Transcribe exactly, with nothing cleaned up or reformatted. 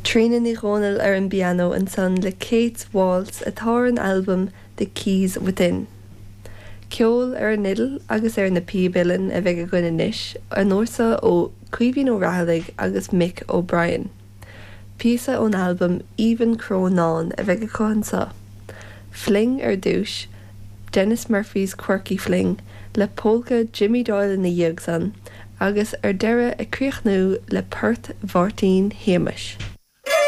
Tríona Ní Dhomhnaill ar an bpianó ansan le Kate's Waltz atá ar an albam The Keys Within. Ceol ar an fhidil agus ar na píob uilleann a bheidh againn anois, an uair seo ó Caoimhín Ó Raghallaigh agus Mick O'Brien. Píosa ón albam Aoibhinn Crónán a bheidh acu anseo. Fling ar dtús, Denis Murphy's Quirky Fling, le polca Jimmy Doyle ina dhiaidh san, agus ar deireadh ag críochnú le port Mháirtín Shéamais.